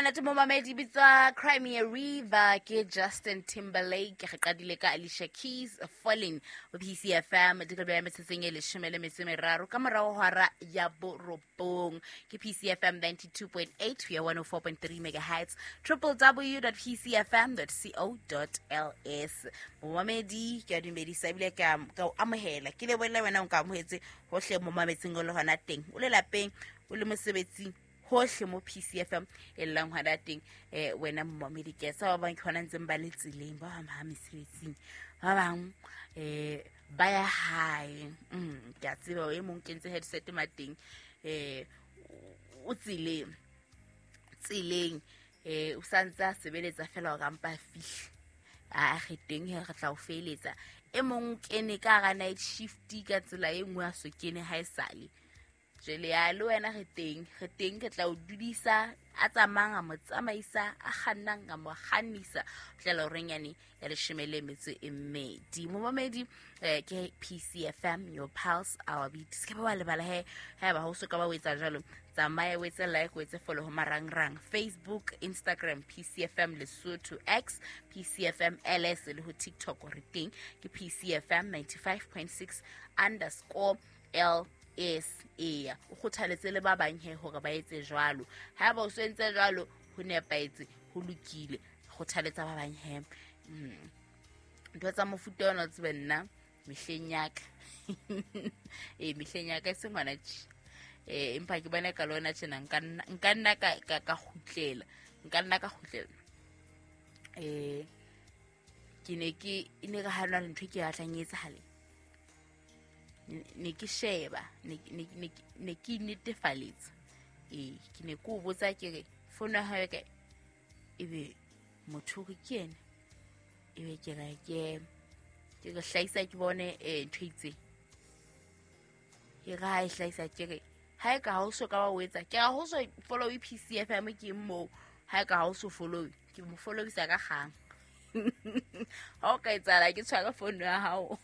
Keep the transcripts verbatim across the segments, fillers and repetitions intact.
Monate momamedi, bitswa Crimea River ke Justin Timberlake. Re qadile ka Alicia Keys, Falling, ho P C F M. Dikebe ya metsotsong e leshome le metso e meraro ka morao ho hora ya borobong. Ke P C F M ninety-two point eight ho ya one oh four point three megahertz, w w w dot p c f m dot co dot l s. Momamedi, ke a dumedisa ebile ke a ka o amohela, ke lebohela wena o nka amohetse hohle mo mametseng o le hona teng, o le lapeng, o le mosebetsing, hohle mo P C F M e llang hona teng. um wena momamedi, ke sa ba bang ke hona ntseng ba le tseleng, ba bang ba mesebetsing, ba bang um ba ya hae. mm ke a tseba e mong kentse headset mateng, um o tseleng tseleng um o santse a sebeletsa fela hore a mpa a fihle a re teng he, re tla o feeletsa. E mong o kene ka hara night shift ka tsela e nngwe, a so kene ha e sale jwale ya le wena. Re teng, re teng, ke tla o dudisa, a tsamayang a mo tsamaisa, a kgannang a mo kgannisa ho tlela horeng yane ya leshome le metso e mmedi. Momamedi, um ke P C F M, your pulse, our beat. Se ke ba wa lebala he, haeba ha o so ka ba o etsa jwalo, tsamaya o etse like, o etse follow ho marangrang: Facebook, Instagram, P C F M Lesotho, X, P C F M L S, le ho TikTok re teng ke P C F M ninety-five point six underscore L S. Eya, o kgothaletse le ba bang he hore ba etse jwalo. Haeba o so entse jwalo, ho nepahetse, ho lokile, kgothaletsa ba bang he. mm. ntho tsa mofuta ona o tsebe nna mehleng ya ka, ee, mehleng ya ka e seng hona tje, um empa ke bona ka le ona tjena nka nna nka nna ka ka ka kgutlela, nka nna ka kgutlela. um ke ne ke e ne re ha na le ntho e ke batlang e etsahale, ne ke sheba, ne ne ne ne ke netefaletsa. Ee, ke ne ke o botsa, ke re fono ya hao e kae, ebe motho o re ke ena, ebe ke re ke ke re hlahisa, ke bone um ntho e itseng. Ke re ha e hlahisa, ke re ha e ka ha o so ka wa o etsa, ke re ha o so follow P C F M, ke moo ha e ka ha o so follow, ke mo followisa ka kgang. Ha o ka etsahala ke tshware fono ya hao,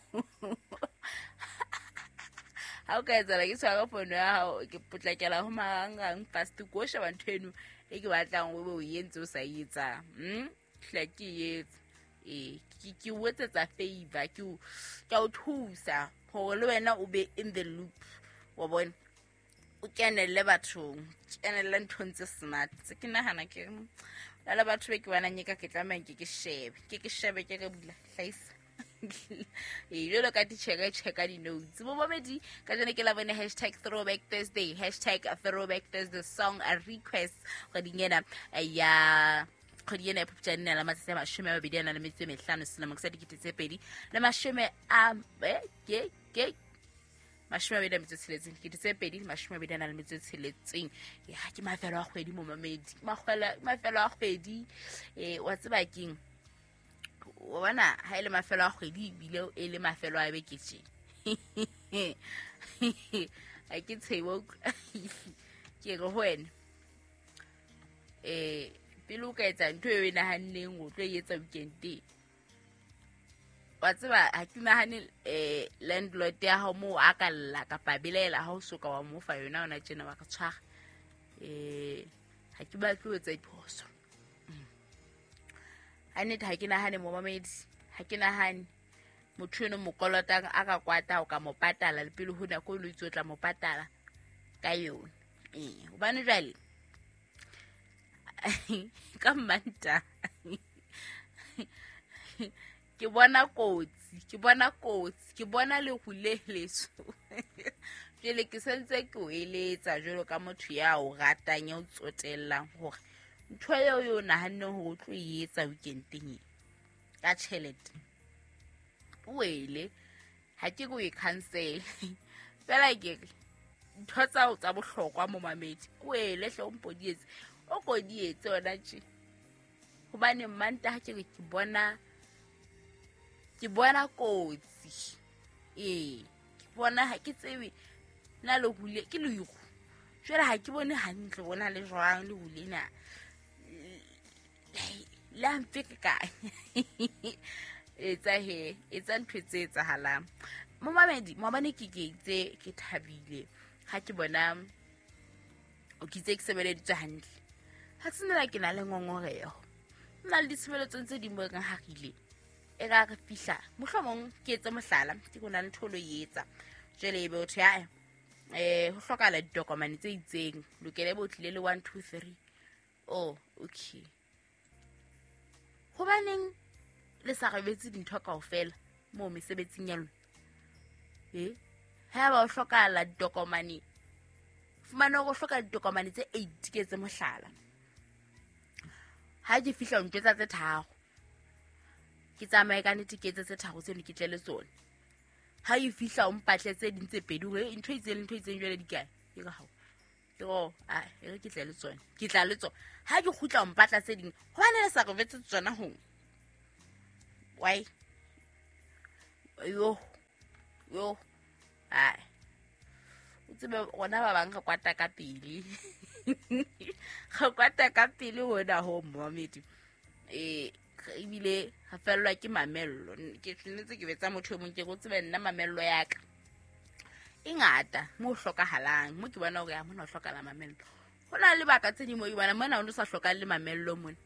ha o ka etsahala ke tshware fono ya hao, ke potlakela ho marangrang fast, ko sheba ntho eno e ke batlang o be o entse o sa e etsang. mm hla ke e etsa. Ee, ke ke o etsetsa favor, ke o ke a o thusa hore le wena o be in the loop, wa bona, o kenelle bathong, kenelle nthong tse smart tse. Ke nahana ke re na le batho be ke bonang e ka ke tlamehang ke ke shebe, ke ke shebe, ke re bula hlahisa. Ee, jwalo ka titjhere e checka di-notes. Bomamedi, ka jeno ke la bone, hashtag throwback Thursday, hashtag throwback Thursday song request. Kgweding ena ya kgwedi ena ya Phupjane la matsatsi a mashome a mabedi a nang le metso e mehlano selemong sa dikete tse pedi le mashome a eh, ke ke mashome a mabedi a metso e tsheletseng, dikete tse pedi le mashome a mabedi a nang le metso e tsheletseng. Ya ke mafelo a kgwedi, momamedi, ke makgwela- ke mafelo a kgwedi. um wa tseba keng, wa bona, ha e le mafelo a kgwedi ebile e le mafelo a beke tje, ha ke tshebo, ke re ho wena, um pele o ka etsa ntho eo e nahanneng o tlo e etsa weekendeng, wa tseba, ha ke nahane um landlord ya hao moo a ka lla kapa a belaela ha o so ka wa mo fa yona ona tjena wa re tshwara. um ha ke batle ho etsa diphoso ha nnete. Ha ke nahane, momamedi, ha ke nahane motho eno mo kolotang a ka kwata o ka mo patala le pele ho nako eno itse o tla mo patala ka yona. Ee, hobane jwale ka Mmantaha ke bona kotsi, ke bona kotsi, ke bona leru le leso. Jwale ke sentse ke o eletsa jwalo ka motho ya o ratang, ya o tsotellang, hore ntho eo yo o nahanneng hore o tlo e etsa weekendeng e ka tjhelete wele, ha ke re o e cancel fela, ke re ntho tsa tsa bohlokwa, momamedi, wele hle o mpo di etse, o ko di etse ona tje, hobane Mmantaha ke re ke bona ke bona kotsi. Ee, ke bona, ha ke tsebe na leru le ke leru jwale, ha ke bone hantle bona le jwang leru lena le a mfekekanya. Etsa he, etsa ntho tse etsahalang, momamedi. Maobane ke ke itse ke thabile ha ke bona o ke itse ke sebeleditswe hantle. Ha se nna ke na le ngongoreho. Nna le ditshebeletsong tse ding mo e kang ha re ile. E ka re fihla mohlomong ke etse mohlala ke go na le ntho o lo e etsa. Jwale ebe o thwe ae eh ho hlokahala ditokomane tse itseng lokele bo tlile le one two three. Oh, okay. Hobaneng le sa re betse dintho kaofela moo mesebetsing ya lona? Eh? Ha ba o hlokahala ditokomane, fumana hore o hloka ditokomane tse eight ke etse mohlala. Ha ke fihla o ntjwetsa tse tharo. Ke tsamaye ka nnete ke etse tse tharo tseno ke tle le tsona. Ha e fihla o mpatle tse ding tse pedi hore ntho e itseng le ntho e itseng jwale di kae? Ke re hao. Ke re ah, e re ke tle le tsona. Ke tla le tsona. Ha ke kgutla o mpatla tse ding, hobane le sa re jwetse tsona ho. Why? Yo. Yo. Ai. O tsebe rona ba bang re kwata ka pele. Re kwata ka pele hona ho momamedi. Eh ebile re fellwa ke mamello. Ke tshwanetse ke betsa motho e mong ke go tsebe nna mamello ya ka. E ngata mo hlokahalang, mo ke bona hore ya mona ho hlokahala mamello. Ho na le lebaka tse ding mo ke bona mona o no sa hlokang le mamello mona.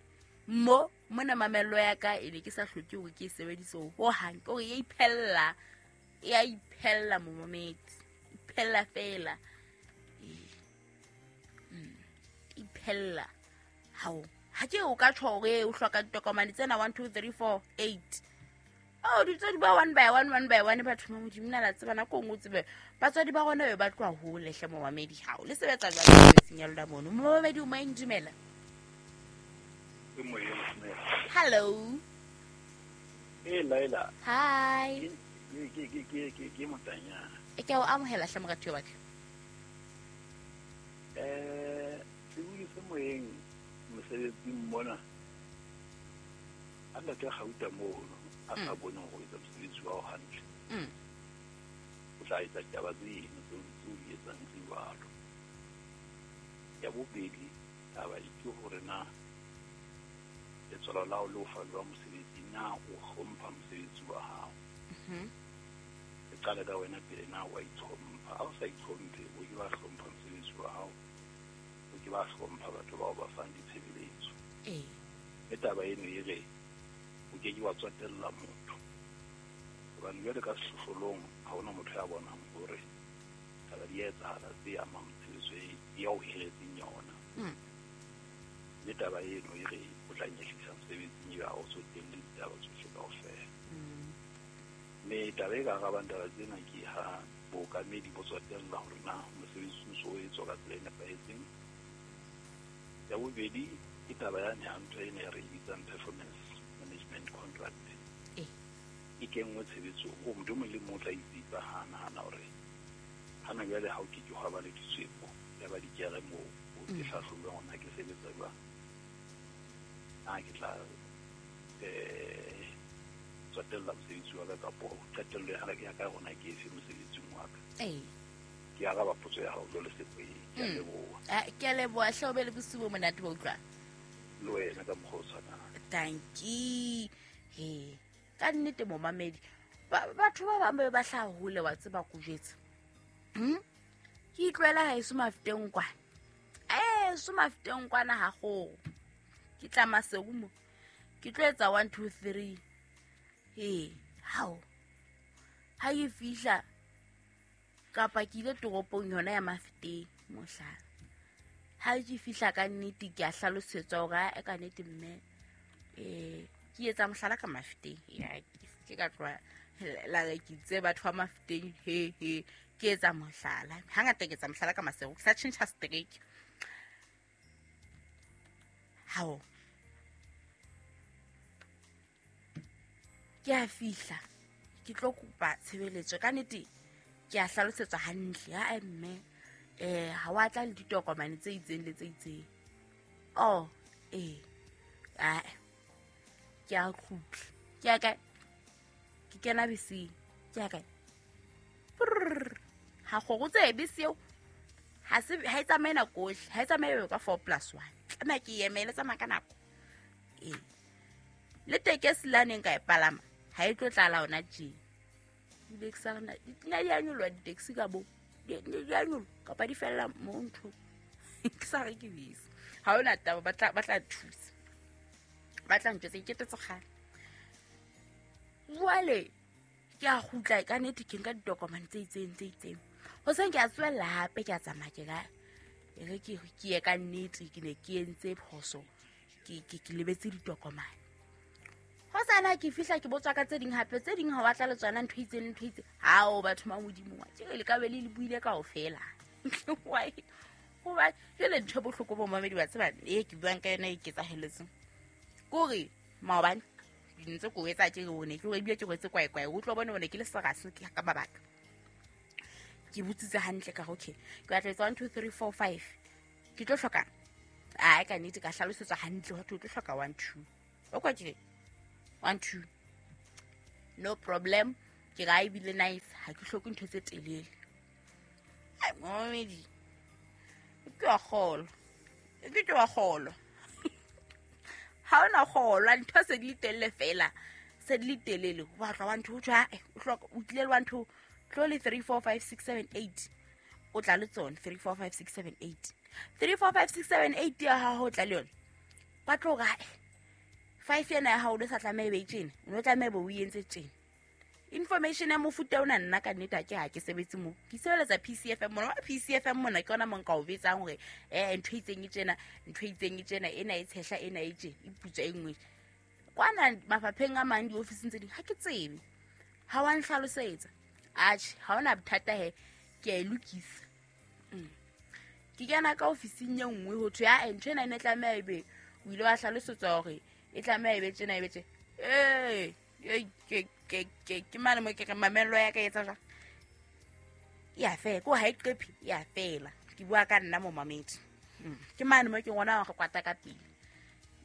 Mo mona mamello ya ka e ne ke sa hloke hore ke e sebedise ho hang, ke hore e iphella, e a iphella momamedi, iphella fela. Mm. Iphella. Hao, ha ke o ka tjho hore o hloka ditokomane tsena one two three four eight. Oh, ditswadi ba one by one, one by one batho ba Modimo na la tseba nako nngwe o tsebe batswadi ba rona be ba tloha hole hle momamedi. Hao le sebetsa jwang mesebetsing ya lona mono? Momamedi o moyeng, dumela. Hello. Hey Laila. Hi. Ke ke ke ke ke ke motanyana. E ke o amohela hle morati wa ka. Eh, sebui se moyeng mosebetsing mona. A ntate Gauta mono a sa bone hore etsa mosebetsi wa hao hantle. Mm. O tla etsa taba tseno tseo tseo di etsang tse jwalo. Ya bobedi taba e ke hore na letswalo la hao le o fa jwang mosebetsi, na o hlompha mosebetsi wa hao. Mhm. E qale ka wena pele, na wa itlhompha. Ha o sa itlhomphe, o ke ba hlompha mosebetsi wa hao, o ke ba hlompha batho bao ba fang ditshebeletso. Eh. E taba eno e re o ke ke wa tswatella motho. Hobane jwale ka sehlohlolong ha hona motho ya bonang hore taba di a etsahala tse amang tshebetso e ya o hiretseng yona. Mm. Le taba eno e re o tla nyehlisa mosebetsing ebe ha o tsotelle ditaba tsohle kaofela. Mm. Mme taba e ka arabang taba tsena ke ha bookamedi bo tswatella hore na mosebetsi o ntso o etswa ka tsela e nepahetseng. Ya bobedi ke taba yane ya ntho ena e re e bitsang performance management contract. Eh. E kenngwe tshebetsong hore motho e mong le mong o tla itsitsa ha a nahana hore hana jwale ha o ke ke hwa ba le ditswepo ya ba dikere moo o ke Mm. hlahlojwa hore na ke sebetsa jwang. Na ke tla eh tswatella mosebetsi wa ka kapo qetello ya ka ya ka hona ke efe mosebetsing wa ka. Eh. Ke araba potso ya hao jwale Sepoyeng. Ke a Mm. leboha. Ah, ke a leboha hle, o be le bosiu bo monate bo utlwang. Le wena ka mokgwa o tshwanang. Dankie. He. Ka nnete momamedi, ba batho ba bang ba be ba hlaha hole wa tseba ko jwetsa. Hm? Ke itlwaela haeso Mafeteng kwana. Eh, so Mafeteng kwana ha kgoho. Ke tla Maseru mo. Ke tlo etsa one two three. He, hao. Ha ke fihla kapa ke ile toropong yona ya Mafeteng mohlala. Ha ke fihla ka nnete ke a hlalosetswa hore a ka nnete mme eh ke etsa mohlala ka Mafeteng. Ya ke ka tloha la re ke itse batho ba Mafeteng he he ke etsa mohlala. Hangata ke etsa mohlala ka Maseru, ke sa tjhentjha strike. Hao. Ke a fihla ke tlo kopa tshebeletso ka nnete ke a hlalosetswa hantle ha mme eh ha wa tla le ditokomane tse itseng le tse itseng. Oh, eh. Ah. Ke a kgutla. Ke a kae? Ke kena beseng. Ke a kae? Brrr. Ha kgoro tse bese eo ha se ha e tsamaye nako ohle, ha e tsamaye ka four plus one. Tlameha ke emele tsamaya ka nako. Eh. Le tekesi la neng ka e palama ha e tlo tlala hona tje. Ebile ke sa re na di a nyoloha di-taxi ka bo. Di di a nyoloha kapa di fella mo nthong. Ke sa re ke bese. Ha ona taba ba tla ba tla thusa. Ba tla ntjwetsa iketetse kgale. Jwale ke a kgutla ka nnete ke nka ditokomane tse itseng tse itseng. Hoseng ke a tswella hape ke a tsamaya ke ka e re ke ke ye ka nnete ke ne ke entse phoso ke ke ke lebetse ditokomane. Hosana ke fihla ke botswa ka tse ding hape tse ding ha wa tla le tsona ntho itseng ntho itseng. Hao batho ba Modimo wa ke le ka be le le buile kaofela. Why? Hoba jwale ntho e bohloko bo mamedi ba tseba e ke buang ka yona e ketsaheletseng. Kore maobane ntse ko etsa ke one ke ebile ke rwetse kwae kwae o tlo bona one ke le serase ke ka mabaka. Ke botsitse hantle ka okay ke batla etsa one two three four five ke tlo hloka a ka nnete ka hlalosetswa hantle hore o tlo hloka one two o kwa ke one two no problem ke ga ebile nice ha ke hloke ntho tse telele. Ai momedi ke wa kgolo ke ke wa kgolo ha ona kgolwa ntho se di telele fela se di telele o batla one two tjha o hloka o tlile one two tlo le three four five six seven eight o tla le tsona three four five six seven eight three four five six seven eight ya ha ho tla le yona ba tlo ga five yena ya ha o le sa tlameha be tjena o tlameha bo o entse tjena information ya mofuta ona nna ka nnete ha ke ha ke sebetse mo ke sebeletsa P C F M mona P C F M mona ke yona mo nka o betsang hore eh ntho itseng e tjena ntho itseng e tjena ena e tshehla ena e tje e putswa e nngwe kwana mafapheng a mang diofising tse ding ha ke tsebe ha wa nhlalosetsa. Atjhe ha ona bothata he ke a e lokisa. Ke kena ka ofising e nngwe ho thwe ya ntho ena e ne tlameha ebe o ile wa hlalosetswa hore e tlameha ebe tjena ebe tje eh ke ke ke ke mane mo ke re mamello ya ka etsa jwang ya fela ko ha e qephi ya fela ke bua ka nna mo mamedi ke mane mo ke ngwana wa go kwata ka pele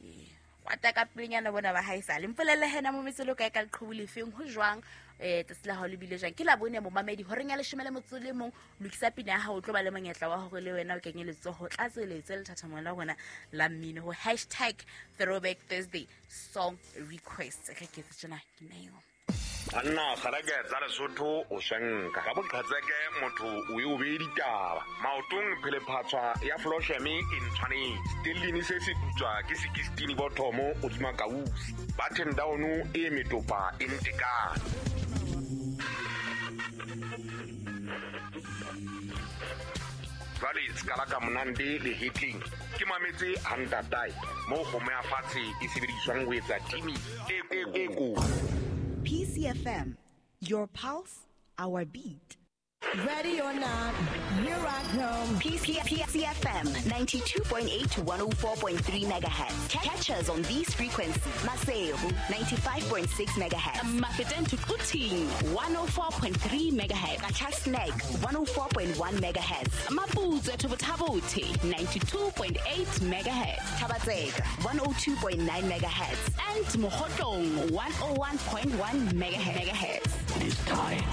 eh kwata ka pele nyana bona ba haesale mpolelle hena mo metselo kae ka leqhubu lefeng ho jwang eh tsatsi la hao le bile jwang ke la bone mo mamedi horeng ya leshome le motso le mong lokisa pina ya hao o tlo ba le monyetla wa hore le wena o kenye letsoho tlatseletse lethathamong la rona la mmino ho hashtag throwback Thursday song request re ke tsena ke nayo Anna kgareke tsa Lesotho o shanka ka boqhatseke motho o e o be ditaba maotong phele phatswa ya Flosheme e ntshwanetse stellini se se putswa ke sixteen bothomo o dima kausi button down e metopa e ntekane jwale skala ka monande le hitling ke mametse hantatai mo kgomo ya fatshe e sebediswang ho etsa timi e e ko P C F M, your pulse, our beat. Ready or not, here I come. P C F M ninety-two point eight to one oh four point three megahertz. Catch us on these frequencies. Maseru ninety-five point six megahertz. Mafeteng to Quthing one oh four point three megahertz. Qacha's Nek one oh four point one megahertz. Maputswe to Botha ninety-two point eight megahertz. Thaba-Tseka one oh two point nine megahertz. And Mokhotlong one oh one point one megahertz. It is time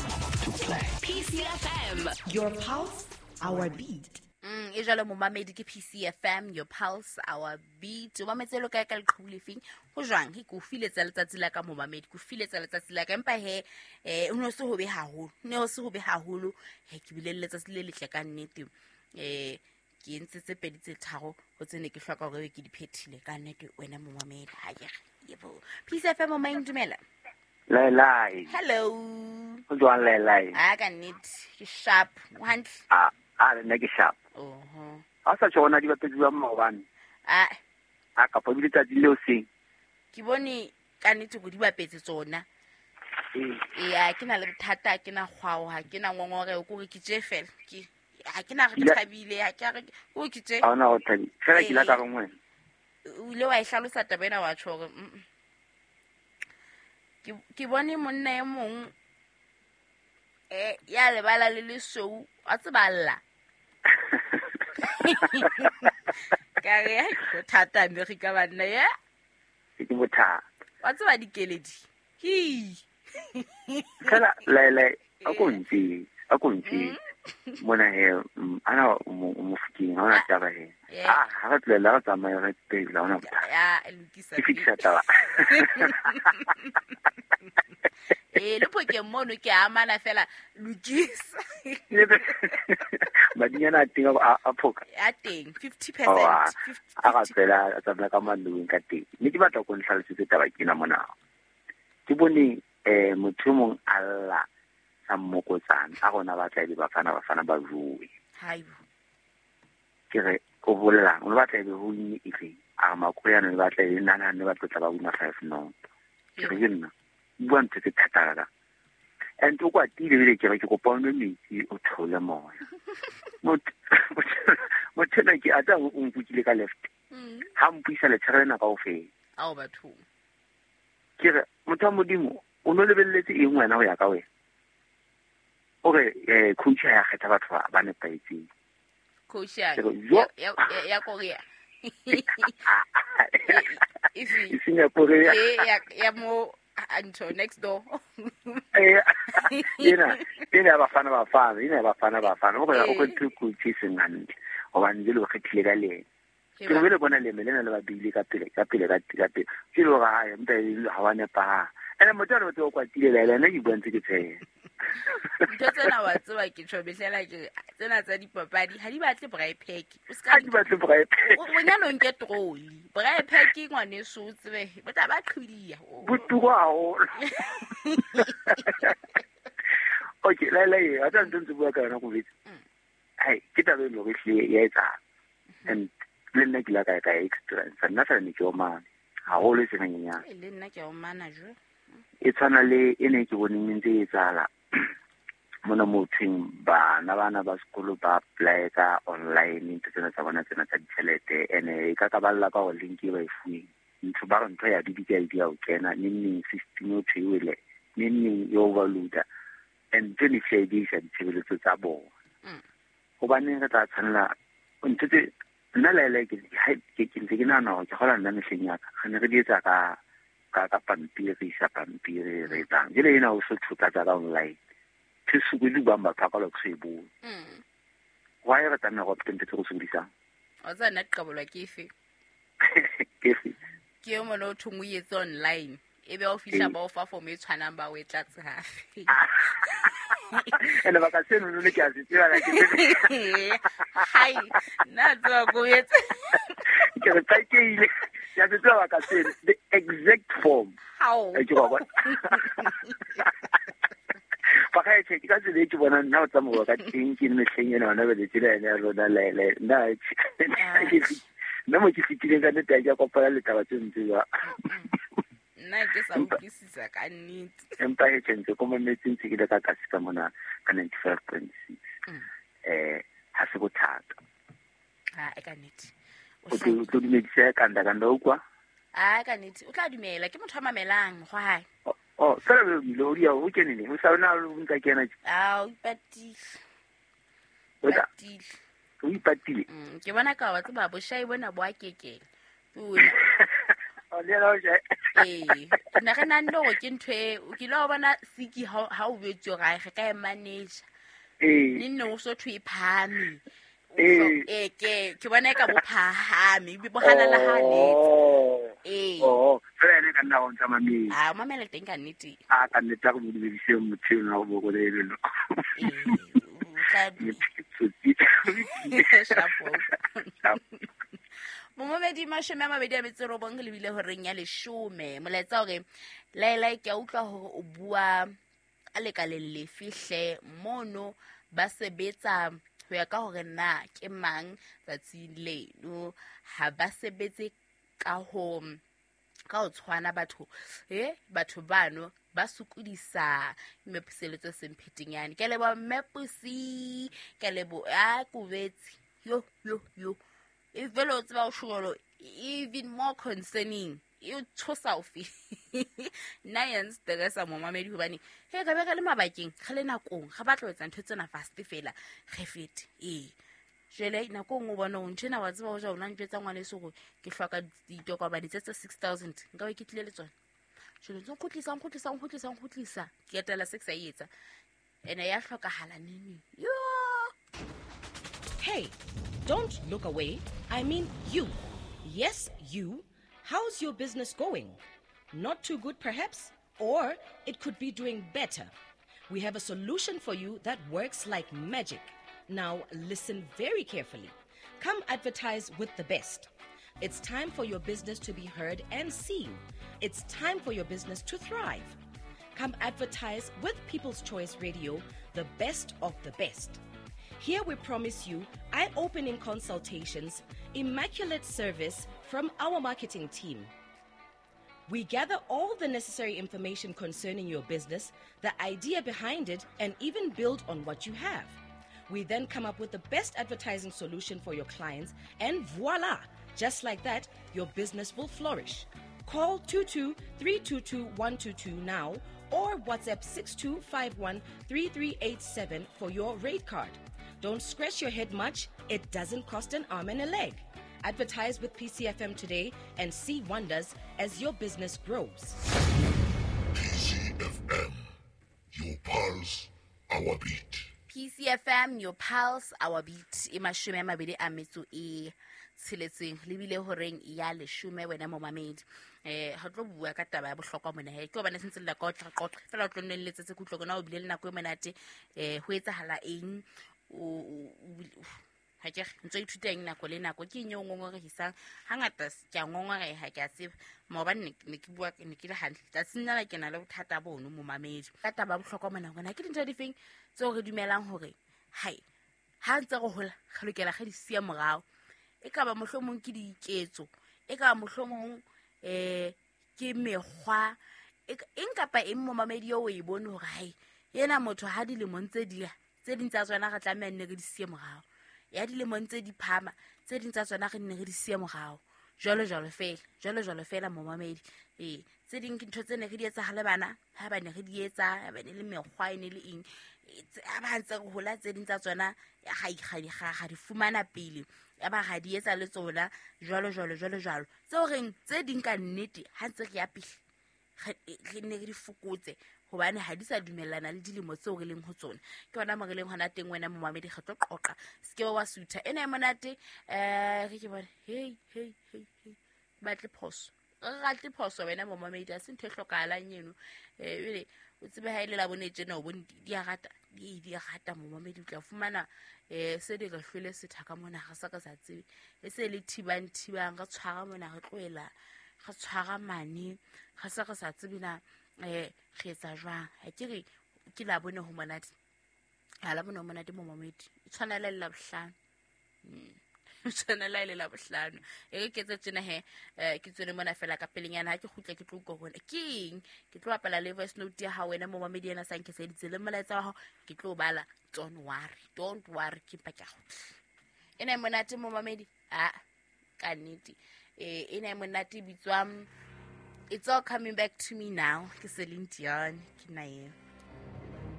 to play. P C F M, your pulse, our beat. Mm, e jalo momamedi ke P C F M, your pulse, our beat. O mametse lo kae ka leqhubu lefeng? Ho jwang? Ke ko filetsa letsatsi la ka momamedi, ko filetsa letsatsi la ka empa he eh o no se ho be haholo. Ne o se ho be haholo. He ke bile letsatsi le letle ka nnete. Eh ke entse tse pedi tse tharo ho tsene ke hloka hore ke di phethile ka nnete wena momamedi. Ha ke re. Yebo. P C F M o mang dumela. Lai lai. Hello. Ho jwang lai lai? Ah ka nnete ke sharp. O hantle? Ah, ah nna ke sharp. Oho. Ha sa tjhona di bapetse jwang maobane? Ah. Ah ka bile tsatsi leo seng. Ke bone ka nnete go di bapetse tsona. Eh. Eh ke na le bothata ke na kgwao ha ke na ngongore o gore ke tje fela. Ke ha ke na re ke thabile ha ke re o ke tje. Ha ona o thabile. Fela ke la ka reng wena. O ile wa e hlalosa taba ena wa tjho hore mm. Ke ke bone monna e mong eh ya lebala le lesweu a tseballa ka re go thata America banna ya ke bothata wa tseba dikeledi hi fela lele a ko ntse a ko ntse mona he ana o mofikeng ha ona taba he ah ha re tlela re tsamaya re pele ona bothata ya lokisa ke fitisa taba eh le phokeng mono ke amana fela lokisa Madinyana a teng a phoka. A teng fifty percent. A ga tsela a tsamaya ka mandueng ka teng. Mme ke batla go ntlhalosetse taba ke ena mona. Ke bone eh motho mong a lla sa mmokotsana a rona ba tla e bafana bafana ba rue. Haibo. Ke re o bolelang o batla e be ho nne efe a makoyana le batla e nana ne ba tlotla ba wina five no. Ke re nna bua ntho tse thata ka. And o kwatile bile ke re ke kopa o nwe metsi o theole moya. Motho motho ena ke ata o nkukile ka left. Ha mpuisa letshego lena kaofela. Ao batho. Ke re motho wa Modimo o no lebelletse eng wena ho ya ka wena? O re eh coach ya kgetha batho ba ba nepahetseng. Coach ya ya ya Korea. E seng ya Korea. Ya ya mo Anto next door. Eh ena ena bafana bafana ena bafana bafana o re o kgethe coach e seng hantle hobane jele o kgethile ka lena. Ke re le bona leme lena le ba bile ka pele ka pele ka ka pele. Ke le hore ha empa ha wa nepahala. Ene motho a o kwatile la ena ke bua ntse ke tsheha. Ntho tsena wa tseba ke tjho behlela ke tsena tsa dipapadi ha di batle braai pack. O ska ha di batle braai pack. O nyana o nke trolley. Braai pack ngwaneso o tsebe bo tla ba qhibidia. Botuko haholo. Okay, la la e a tsa ntse bua ka yona go betsa. Hai, ke taba e lore hle ya etsahala. And le nna ke la ka ka experience nna fela ne ke omana haholo e seng hanyenyane. Le nna ke omana jo. E tshwana le e ne ke boneng ntse e etsahala mona mo thweng bana bana ba sekolo ba apply ka online ntho tsena tsa bona tsena tsa ditjhelete ene e ka ka balla ka hore link e ba e fuweng ntho ba re ntho ya D D K I D ya o kena neng neng system o thwele neng neng e overloader and ntho ne hle di isa ditshebeletso tsa bona. Hobaneng re tla tshwanela ntho tse nna le le ke ke ntse ke nahana hore ke kgola nna mehleng ya ka re ne re di etsa ka ka ka pampiri isa pampiri re etsang jele ena o so thuta tsa ka online ke sukuli ba batho ka lo se bo mm why re tlameha go ntse go sokodisang o tsa nna qabolwa ke efe ke efe ke yo mona o thong o etse online e be o fihla ba o fa form e tshwanang ba o e tlatse hape ene ba ka seno le ke a se tseba la ke hai nna tswa go etse ke re tsakeile ya se tseba ka seno the exact form how ke go bona ba ka e ke ka tsela e ke bona nna o tsamaya ka teng ke mehleng ena hona bele tsela ena ya rona le le nna nna mo ke fitileng ka nnete ya kopana le taba tse ntse jwa nna ke sa utlwisisa ka nnete empa e tshentse ko mametseng tse ke le ka kasi ka mona ka ninety-five point six eh ha se bothata ha e ka nnete o tlo dumedisa ka nda ka nda ukwa a ka nnete o tla dumela ke motho a mamelang mokgwa hae. Oh, fela o ile o dia o kenile o sa ona o ntsa kena. Ah, o ipatile. O ipatile. O ipatile. Mm, ke bona ka wa tseba boshai bona bo a kekela. O O le la o jai. Eh, nna re nang le hore ke ntho e o kile wa bona siki ha ha o betswe gae re ka e manage. Eh. Nne o so thwe phahame. Eh, eh ke ke bona e ka bo phahame, bo halala haletse. Eh. Oh, fela ene ka nna go ntsa mamela. Ah, o mamela teng ka nnete. Ah, ka nnete go dumedise motho eno go go le leno. Eh, o tla Shapo. Momamedi mashome a mabedi a metso robong le bile horeng ya leshome. Molaetsa hore laela ke a utlwa hore o bua a lekaleng lefe hle mono ba sebetsa ho ya ka hore na ke mang tsatsing leno ha ba sebetse ka ho ka ho tshwana batho eh batho bano ba sokodisa mmepuseletso semphetenyane ke leboha mmepusi ke leboha a kubetse yo yo yo e vele o tseba o sholo even more concerning e o tshosa o fe nna ya nstressa momamedi hobane he ka be re le mabakeng re le nakong ga batla ho etsa ntho tsena fast fela re fete ee jele nakong o bona o ntshena wa tseba ho ja o na ntjwetsa ngwaneso hore ke hloka ditokomane tse tse six thousand nka be ke tlile le tsona jele ntse nkgutlisa nkgutlisa nkgutlisa nkgutlisa ke etela six a etsa ene ya hlokahala nini yo. Hey, don't look away. I mean you. Yes, you. How's your business going? Not too good, perhaps? Or it could be doing better. We have a solution for you that works like magic. Now listen very carefully. Come advertise with the best. It's time for your business to be heard and seen. It's time for your business to thrive. Come advertise with People's Choice Radio, the best of the best. Here we promise you eye-opening consultations, immaculate service from our marketing team. We gather all the necessary information concerning your business, the idea behind it, and even build on what you have. We then come up with the best advertising solution for your clients, and voila! Just like that, your business will flourish. Call two two three two two one two two now or WhatsApp six two five one three three eight seven for your rate card. Don't scratch your head much. It doesn't cost an arm and a leg. Advertise with P C F M today and see wonders as your business grows. P C F M, your pulse, our beat. P C F M, your pulse, our beat. E mashome a mabedi a metso e tsheletseng lebile horeng ya leshome wena momamedi. Eh ha tlo bua ka taba ya bohlokwa mona he ke hobane sentse le ka otla qoqa fela o tlo nne letsetse kutlwe kona o bile le nako e monate eh ho etsahala eng o ha ke ntse ithuta eng nako le nako ke eng o ngongorehisang hangata ke a ngongoreha ke a tseba maobane ne ke bua ne ke le hantle tsatsing la ke na le bothata bono momamedi ka taba ya bohlokwa mona hona ke dintho difeng tseo re dumelang hore hai ha ntse re hola re lokela re di siya morao e ka ba mohlomong ke diketso e ka ba mohlomong eh ke mekgwa eng kapa eng momamedi eo o e bone hore hai yena motho ha dilemong tse di tse ding tsa tsona re tlameha nne re di siye morao ya dilemong tse di phama tse ding tsa tsona re nne re di siye morao jwalo jwalo fela jwalo jwalo fela momamedi eh tse ding ke ntho tse ne re di etsa ha le bana ha ba ne re di etsa ba ne le mekgwa e ne le eng ha ba ntse re hola tse ding tsa tsona ga ga ga di fumana pele ya ba ga di etsa le tsona jwalo jwalo jwalo jwalo tseo reng tse ding ka nnete ha ntse re ya pele re ne re di fokotse hobane ha di sa dumellana le dilemo tseo re leng ho tsona ke hona mo re leng hona teng wena momamedi re tlo qoqa se ke wa sutha ena e monate eh re ke bone hey hey hey hey batle phoso re ratle phoso wena momamedi a se ntho e hlokahalang eno eh ele o tsebe ha ile la bone tjena o bone di a rata di di rata momamedi o tla fumana eh se di re hlwele sethaka mona ga sa ka sa tsebe e se le thibang thibang re tshwara mona re tlohela re tshwara mane ga sa ka sa tsebe na eh re etsa jwang ha ke re ke la bone ho monate ha la bone ho monate momamedi e tshwana le la bohlano tshwana le la bohlano e re ke tse tsena he ke tswele mona fela ka pelenyana ha ke kgutle ke tlo utlwa hore ke eng ke tlo bapala le voice note ya hao wena momamedi ena sa nkeseditse le molaetsa wa hao ke tlo bala don't worry don't worry ke mpa ke a kgutla ena e monate momamedi a ka nnete eh ena e monate bitswang It's All Coming Back to Me Now ke Celine Dion ke na eo.